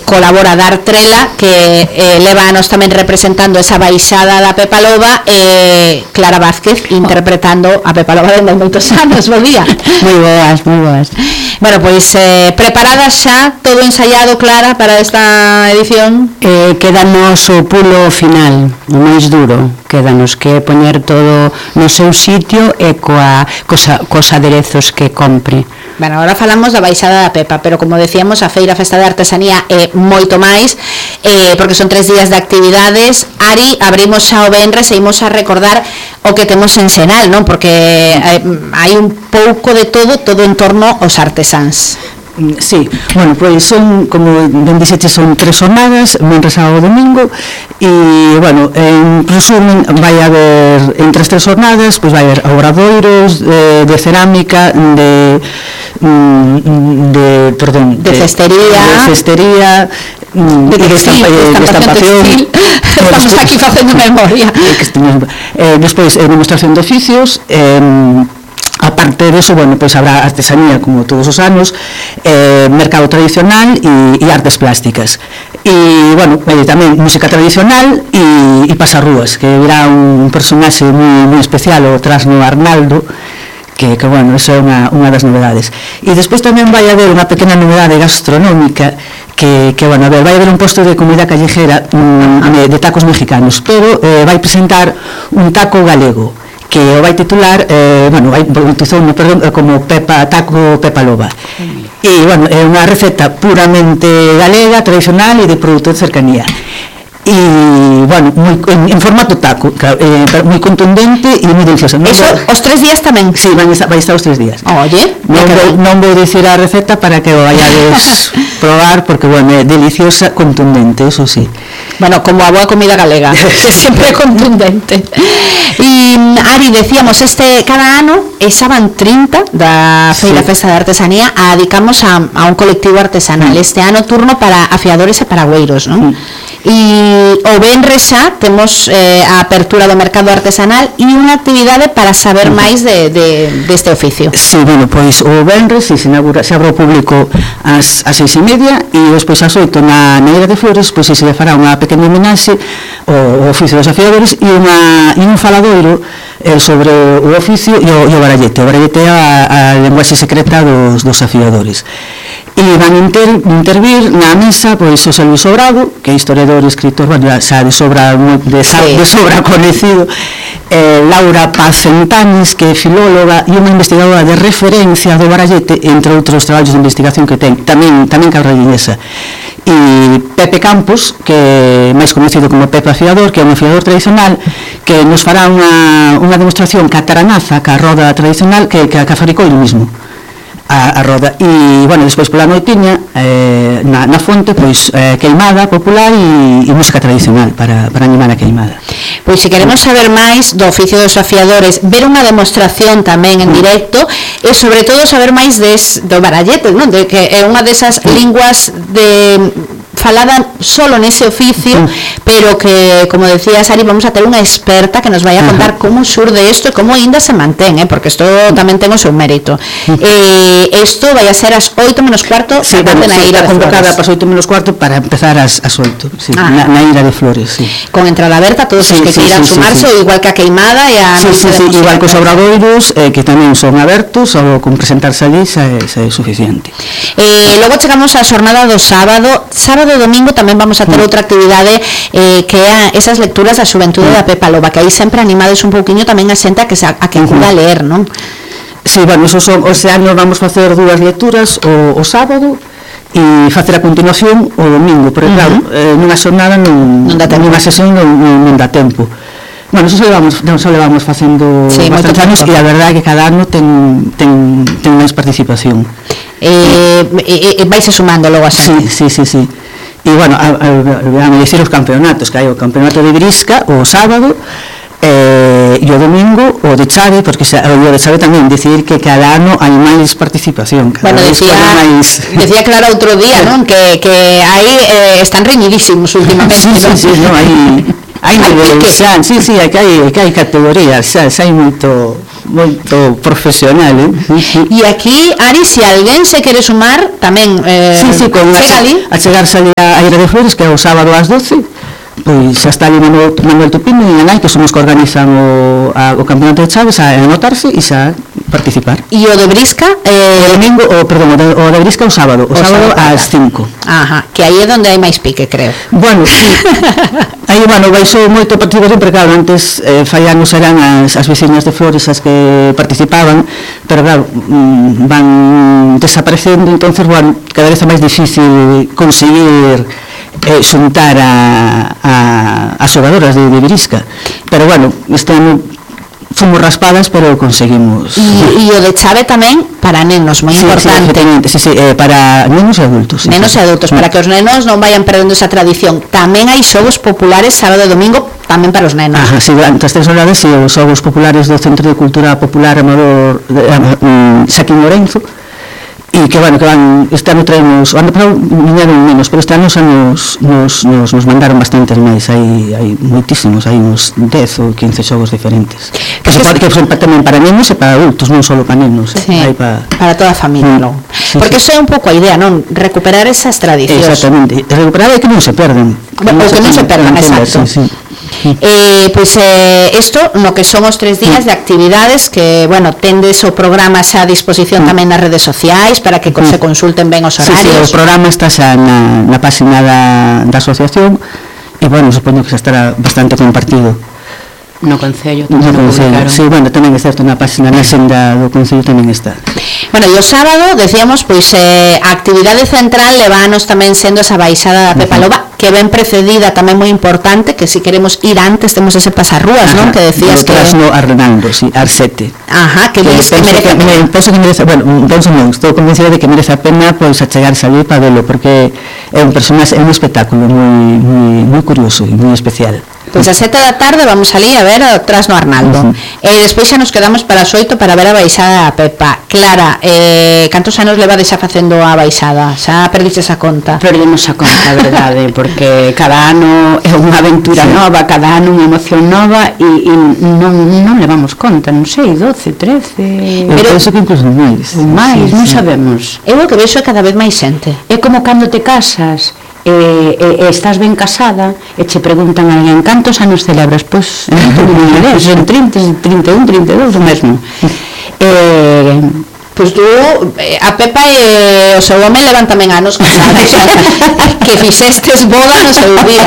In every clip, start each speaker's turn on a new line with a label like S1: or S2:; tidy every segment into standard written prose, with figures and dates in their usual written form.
S1: colabora Dar Trela, que lévanos tamén representando esa baixada da Pepa Loba, Clara Vázquez interpretando a Pepa Loba dende moitos anos. Bo día.
S2: Moi boas, moi boas.
S1: Bueno, pois preparadas xa, todo ensaiado, Clara, para esta edición?
S2: Quédanos o pulo final, o máis duro. Quédanos que poñer todo no seu sitio e cos aderezos que compre.
S1: Bueno, agora falamos da baixada da Pepa, pero como decíamos, a Feira Festa de Artesanía é moito máis, porque son 3 días de actividades. Ari, abrimos xa o venres e imos a recordar o que temos en Senal, non? Porque hai un pouco de todo en torno aos artesáns.
S3: Sí, bueno, pois son, como ben dixete, son 3 jornadas, venres, sábado, domingo, e, bueno, en resumen, vai haber, entre as 3 jornadas, pois vai haber obradoiros de cerámica, de cestería, de estampación.
S1: Estamos aquí facendo memoria.
S3: Despois, demostración de oficios, aparte de eso, bueno, pues habrá artesanía como todos os anos, mercado tradicional e artes plásticas. E, bueno, tamén música tradicional e pasarrúas, que virá un personaxe moi especial, o Trasno Arnaldo, que bueno, eso é unha das novedades. E despois tamén vai haber unha pequena novedade gastronómica, que bueno, a ver, vai haber un posto de comida callejera de tacos mexicanos, pero vai presentar un taco galego, que o vai titular, bueno, vai bautizouno, perdón, como taco Pepa Loba. E, bueno, é unha receta puramente galega, tradicional e de produto de cercanía. E, bueno, en formato taco, moi contundente e moi delicioso.
S1: Eso, os 3 días tamén?
S3: Sí, vai estar os 3 días.
S1: Oye,
S3: non vou dicir a receta para que o vayades probar, porque, bueno, é deliciosa, contundente, eso sí.
S1: Bueno, como a boa comida galega, que sempre é contundente. E, Ari, decíamos, cada ano, esa van 30 da Feira Festa de Artesanía, a dedicamos a un colectivo artesanal. Este ano turno para afiadores e paragüeiros, non? E o venres xa temos a apertura do mercado artesanal e unha actividade para saber máis deste oficio.
S3: Sí, bueno, pois o venres se abre ao público ás 6:30 e despois ás 8 na Ira de Flores, pois se fará unha pequena homenaxe ao oficio dos afiadores e un faladoiro sobre o oficio e o barallete. O barallete é a lenguaxe secreta dos afiadores. E van intervir na mesa pois José Luis Sobrado, que é historiador e escritor, bueno, xa de sobra coñecido, Laura Paz Centanis, que é filóloga e unha investigadora de referencia do barallete, entre outros traballos de investigación que ten, tamén carrallinesa. E Pepe Campos, que é máis conhecido como Pepe Afiador, que é un afiador tradicional, que nos fará unha demostración ca taranaza, ca roda tradicional, que fabricou ele mismo a roda. E, bueno, despois pola noitiña na fonte, pois queimada popular e música tradicional para animar a queimada.
S1: Pois se queremos saber máis do oficio dos afiadores, ver unha demostración tamén en directo e sobre todo saber máis do barallete, non? De que é unha desas linguas falada solo nese oficio, pero que, como decía Sari, vamos a ter unha experta que nos vai a contar como surde isto e como ainda se mantén, porque isto tamén ten o seu mérito. Isto vai a ser ás 8:15
S3: na Ira de Flores. Está convocada para as 8:15 para empezar ás 8, na Ira de Flores.
S1: Con entrada aberta, todos os que queiran sumarse, igual que a queimada e a...
S3: igual que os obradoiros, que tamén son abertos, ou con presentarse allí xa é suficiente.
S1: Logo chegamos á xornada do sábado e domingo tamén vamos a ter outra actividade que é esas lecturas da xuventude da Pepa Loba, que aí sempre animades un pouquiño tamén a xente a que acuda a ler, non?
S3: Sí, bueno, ese ano vamos facer 2 lecturas o sábado e facer a continuación o domingo, porque claro, nunha xornada nunha sesión non dá tempo. Bueno, eso só levamos facendo bastantes anos e a verdade é que cada ano ten máis participación.
S1: Vais sumando logo a xente.
S3: Sí. E, bueno, a dicir os campeonatos, que hai o campeonato de Brisca o sábado e o domingo o de Chave, porque o de Chave tamén decidir que cada ano hai máis participación.
S1: Bueno, decía Clara outro día, non? Que aí están reñidísimos últimamente.
S3: Sí, hai nivel, sí, que hai categorías, xa hai moito moito profesional,
S1: E aquí, Ari, se alguén se quere sumar, tamén
S3: con achegarse ali a Aira de Flores, que é o sábado ás 12, pois xa está ali Manuel Tupino e Anai, que son os que organizan o campeonato de chaves, a anotarse e xa participar.
S1: E o de Brisca?
S3: O domingo, o de Brisca o sábado ás 5.
S1: Ajá, que aí é onde hai máis pique, creo.
S3: Bueno, sí. Aí, baixou moito participación, porque claro, antes fai anos eran as veciñas de Flores as que participaban, pero claro, van desaparecendo, entonces, cada vez é máis difícil conseguir xuntar as xogadoras de Brisca, pero este ano fomos raspadas, pero conseguimos.
S1: E o de chave tamén para nenos, moi importante.
S3: Sí, para nenos e adultos.
S1: Nenos e adultos, para que os nenos non vayan perdendo esa tradición. Tamén hai xogos populares sábado e domingo, tamén para os nenos.
S3: Sí, durante as 3 horas, os xogos populares do Centro de Cultura Popular Amador Xaquín Lorenzo, e que van, este ano traemos, o ano pasado viñeron menos, pero este ano xa nos mandaron bastantes máis, hai moitísimos, hai uns 10 ou 15 xogos diferentes, que son tamén para nenos e para adultos, non só para nenos, hai
S1: para toda a familia, non? Porque iso é un pouco a idea, non? Recuperar esas tradicións.
S3: Exactamente, recuperar é que non se perden.
S1: O que non se perdan, exacto. Pois isto no que son os 3 días de actividades que, tendes o programa xa a disposición tamén nas redes sociais para que se consulten ben os horarios.
S3: O programa está xa na página da asociación e, supoño que xa estará bastante compartido.
S2: No Concello
S3: tamén é certo, na página na xenda do Concello tamén está.
S1: E o sábado, decíamos, a actividade central levános tamén sendo esa baixada da Pepa Loba, que ven precedida tamén moi importante, que si queremos ir antes temos ese pasarrúas, non? Que decías que...
S3: Trasno a Renaldo, ar 7.
S1: Ajá, que penso
S3: que merece, estou convencida de que merece a pena achegarse ali para velo, porque é un personaxe, é un espectáculo moi curioso e moi especial.
S1: Pois a 7 da tarde vamos ali a ver o Trasno Arnaldo. E despois xa nos quedamos para as 8 para ver a baixada da Pepa. Clara, cantos anos levades xa facendo a baixada? Xa perdiches a conta?
S2: Perdemos a conta, a verdade, porque cada ano é unha aventura nova, cada ano unha emoción nova e non levamos conta, non sei, 12, 13...
S3: Pero penso que incluso máis.
S2: Non sabemos.
S1: Eu o que vexo é cada vez máis xente.
S2: É como cando te casas e estás ben casada e che preguntan a alguén cantos anos celebras, pois son 30, 31, 32 o mesmo.
S1: Pois tú, a Pepa e o seu home levan tamén anos casados, que fixestes boda no seu día.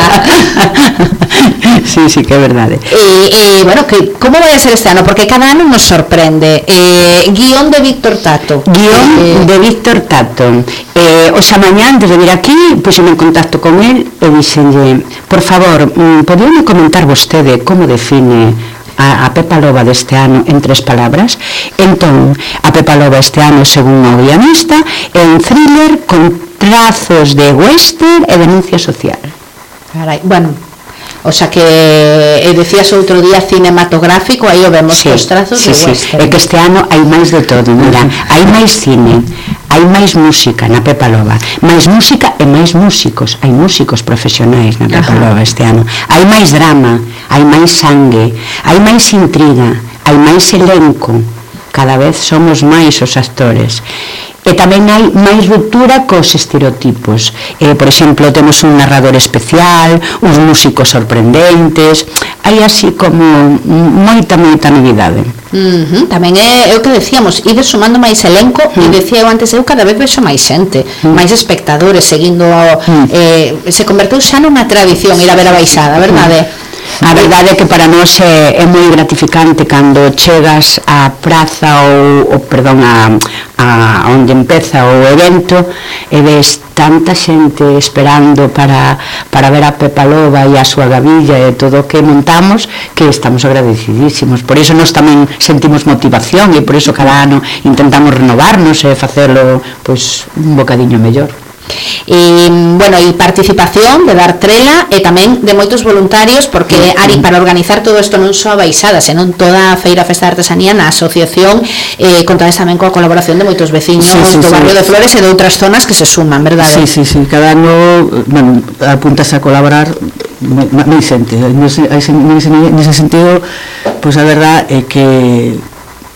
S3: Sí, que é verdade.
S1: Como vai a ser este ano? Porque cada ano nos sorprende. Guión de Víctor Tato.
S2: Guión de Víctor Tato. Oxa mañá, antes de vir aquí, puxeme en contacto con el e dixenlle, por favor, podíame comentar vostede como define a Pepa Loba deste ano en 3 palabras? Entón, a Pepa Loba este ano, según o guionista, é un thriller con trazos de western e denuncia social.
S1: Carai, o sea que decías outro día cinematográfico, aí o vemos os trazos de western.
S2: É que este ano hai máis de todo, mira, hai máis cine, hai máis música na Pepa Loba, máis música e máis músicos, hai músicos profesionais na Pepa Loba este ano, hai máis drama, hai máis sangue, hai máis intriga, hai máis elenco, cada vez somos máis os actores. E tamén hai máis ruptura cos estereotipos. Por exemplo, temos un narrador especial, uns músicos sorprendentes, hai así como moita novidade.
S1: Tamén é o que decíamos, ides sumando máis elenco, e decía eu antes, eu cada vez vexo máis xente, máis espectadores seguindo, se converteu xa nunha tradición ir a ver a baixada, verdade?
S2: A verdade é que para nós é moi gratificante cando chegas á praza a onde empeza o evento e ves tanta xente esperando para ver a Pepa Loba e a súa gavilla e todo o que montamos, que estamos agradecidísimos. Por iso nós tamén sentimos motivación e por iso cada ano intentamos renovarnos e facelo un bocadiño mellor.
S1: E participación de dar trela e tamén de moitos voluntarios, porque Ari, para organizar todo isto non só a baixada, senón toda a feira Festa de Artesanía na asociación, contades tamén coa colaboración de moitos veciños do barrio de Flores e de outras zonas que se suman, verdade?
S3: Sí, cada ano apuntas a colaborar moi xente, nese sentido, pois a verdade é que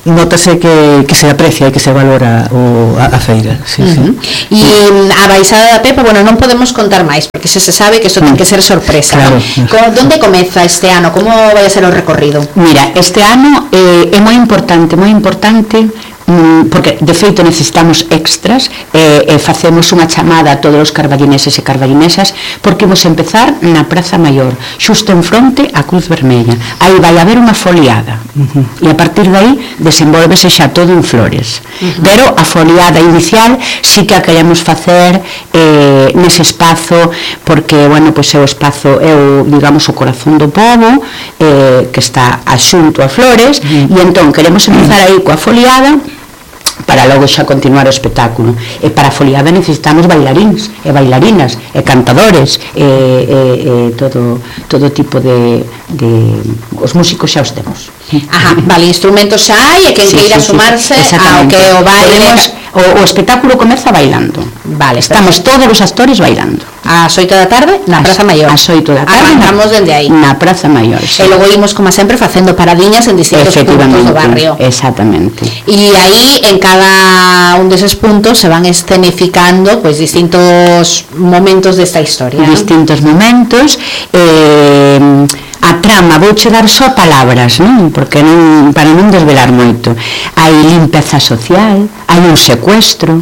S3: notase que se aprecia e que se valora a feira, sí, sí.
S1: E a baixada da Pepa, bueno, non podemos contar máis porque se sabe que isto ten que ser sorpresa,
S3: claro,
S1: ¿no? Donde comeza este ano? Como vai a ser o recorrido?
S2: Mira, este ano é moi importante porque de feito necesitamos extras e facemos unha chamada a todos os carballineses e carballinesas porque vamos empezar na Praza Maior, xusto en fronte á Cruz Vermella. Aí vai haber unha foliada e a partir de aí desenvolvese xa todo en flores, pero a foliada inicial sí que a queremos facer nese espazo porque, bueno, pois é o espazo, é o, digamos, o corazón do pobo que está axunto a flores e entón queremos empezar aí coa foliada para logo xa continuar o espectáculo. E para a foliada necesitamos bailaríns e bailarinas e cantadores e todo tipo de os músicos xa os temos.
S1: Ajá, vale, instrumentos xa hai e quen queira sumarse ao que o baile.
S2: O espectáculo comeza bailando.
S1: Vale,
S2: estamos todos os actores bailando.
S1: Ás 8 da tarde na Praza Maior.
S2: Ás 8 da tarde.
S1: Arrancamos dende aí.
S2: Na Praza Maior.
S1: E logo imos, como sempre, facendo paradiñas en distintos puntos do barrio.
S2: Exactamente.
S1: E aí, en cada un deses puntos, se van escenificando pois distintos momentos desta historia.
S2: Distintos momentos. A trama, vouche dar só palabras, non? Porque non, para non desvelar moito. Hai limpeza social, hai un secuestro,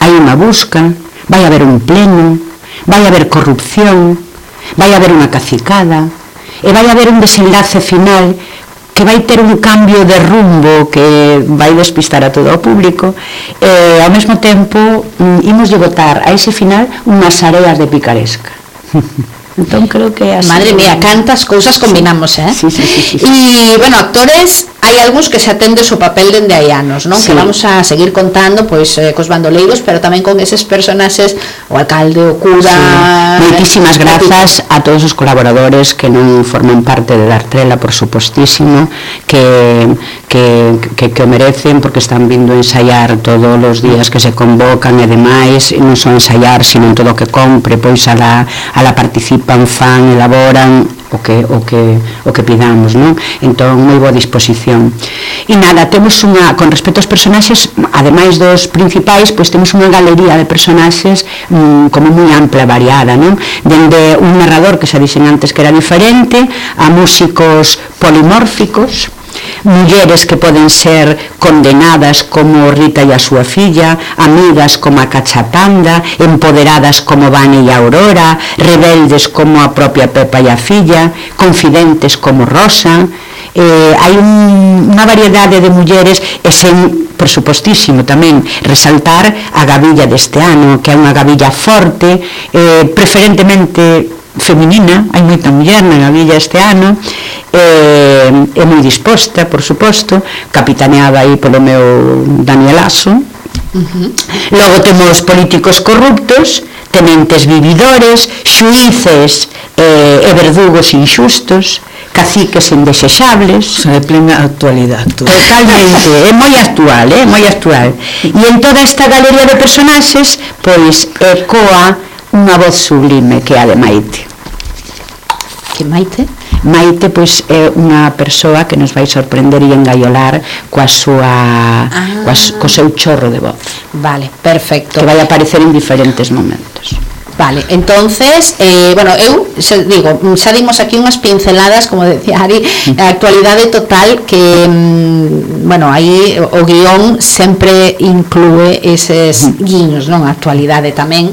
S2: hai unha busca, vai haber un pleno, vai haber corrupción, vai haber unha cacicada e vai haber un desenlace final que vai ter un cambio de rumbo que vai despistar a todo o público e ao mesmo tempo imos botar a ese final unhas areas de picaresca. Entón creo que así.
S1: Madre mía, cantas cousas combinamos,
S2: Sí.
S1: E, bueno, actores, hai algúns que se atende o seu papel dende hai anos, non? Sí. Que vamos a seguir contando, pois, cos bandoleiros, pero tamén con eses personaxes, o alcalde, o cura...
S2: Sí. Moitísimas grazas a todos os colaboradores que non forman parte de Dartrela, por supostísimo, que o merecen, porque están vindo a ensaiar todos os días que se convocan e demais, non só ensaiar, sino en todo o que compre, pois a la participan, fan, elaboran o que pidamos, non? Entón, moi boa disposición. E nada, temos con respecto aos personaxes, ademais dos principais, pois temos unha galería de personaxes como moi ampla, variada, non? Dende un narrador que xa dixen antes que era diferente, a músicos polimórficos, mulleres que poden ser condenadas como Rita e a súa filla, amigas como a Cachapanda, empoderadas como Vane e a Aurora, rebeldes como a propia Pepa e a filla, confidentes como Rosa. Hai unha variedade de mulleres e sen, por supostísimo, tamén resaltar a gabilla deste ano, que é unha gabilla forte, preferentemente feminina, hai moita muller na gabilla este ano, é moi disposta, por suposto, capitaneada aí polo meu Danielazo. Logo temos políticos corruptos, tenentes vividores, xuíces e verdugos inxustos, caciques indesexables.
S3: De plena actualidade.
S2: Totalmente, é moi actual, moi actual. E en toda esta galería de personaxes, pois, ecoa unha voz sublime que é a de Maite.
S1: Que Maite?
S2: Maite, pois, é unha persoa que nos vai sorprender e engaiolar co seu chorro de voz.
S1: Vale, perfecto.
S2: Que vai aparecer en diferentes momentos.
S1: Vale, entonces, bueno, eu digo, xa dimos aquí unhas pinceladas, como decía Ari, a actualidade total que, bueno, aí o guión sempre inclúe eses guiños, non? A actualidade tamén,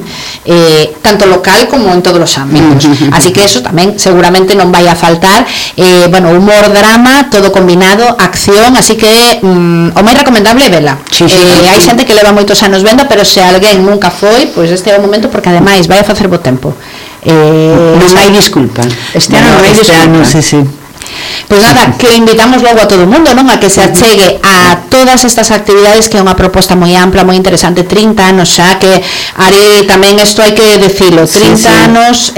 S1: tanto local como en todos os ámbitos. Así que eso tamén seguramente non vai a faltar. Bueno, humor, drama, todo combinado, acción, así que o máis recomendable é vela. Hai xente que leva moitos anos venda, pero se alguén nunca foi, pois este é o momento, porque ademais vai a facer bo tempo.
S2: Non hai disculpa. Este ano non hai disculpa.
S3: Sí.
S1: Pois nada, que invitamos logo a todo o mundo, non? A que se achegue a todas estas actividades, que é unha proposta moi ampla, moi interesante. 30 anos xa, que Ari, tamén isto hai que decilo, 30 anos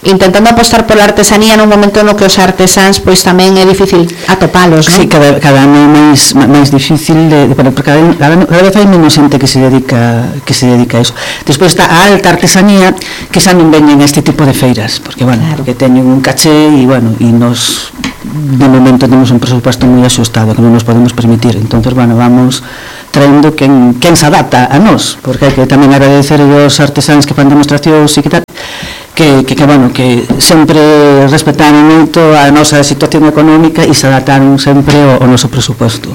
S1: intentando apostar pola artesanía nun momento no que os artesáns pois tamén é difícil atopalos, non?
S3: Sí, cada ano é máis difícil porque cada vez hai menos xente que se dedica a iso. Despois está a alta artesanía, que xa non veñen a este tipo de feiras, porque, bueno, claro, porque teñen un caché e, bueno, e nos de momento temos un presupuesto moi axustado que non nos podemos permitir, entonces, bueno, vamos traendo quen se adapta a nós, porque hai que tamén agradecer aos artesáns que fan demostracións e que tal, que bueno, que sempre respetaron moito a nosa situación económica e se adaptaron sempre ao noso presupuesto.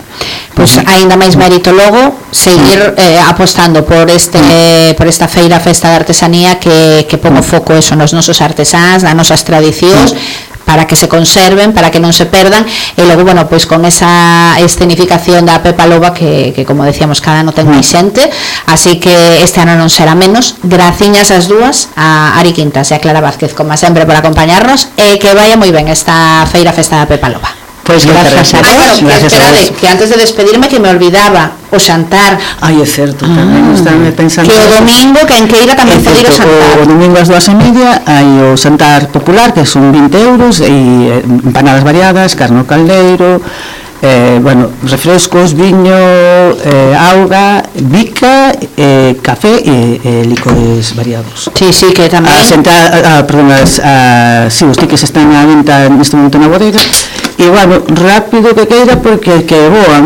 S1: Pois aínda máis mérito logo seguir apostando por esta feira, festa de artesanía que pongo foco eso nos nosos artesáns, nas nosas tradicións, para que se conserven, para que non se perdan, e logo, bueno, pois con esa escenificación da Pepa Loba que como decíamos, cada ano ten máis xente, así que este ano non será menos. Graciñas as dúas, a Ari Quintas e a Clara Vázquez, como sempre, por acompañarnos, e que vaya moi ben esta feira, festa da Pepa Loba.
S2: Pois gracias a vos.
S1: Esperade, que antes de despedirme que me olvidaba o xantar.
S3: Ai, é certo, tamén estame pensando
S1: que o domingo, que en Queira tamén pode ir o xantar.
S3: O domingo ás 2:30 hai o xantar popular, que son 20 euros, e empanadas variadas, carne ao caldeiro, bueno, refrescos, viño, auga, bica, café e licores variados.
S1: Sí, que tamén
S3: si os tickets están á venta neste momento na bodega, e bueno, rápido que queira, porque que boa,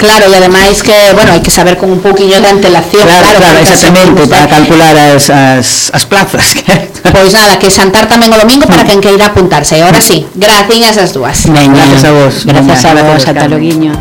S1: claro, e ademais que, bueno, hai que saber con un pouquiño de antelación.
S3: Claro, exactamente, para calcular as plazas.
S1: Pois nada, que xantar tamén o domingo para quen queira apuntarse. E agora sí, graciñas as dúas.
S2: Gracias a vos. Gracias a vos, ata loguiño.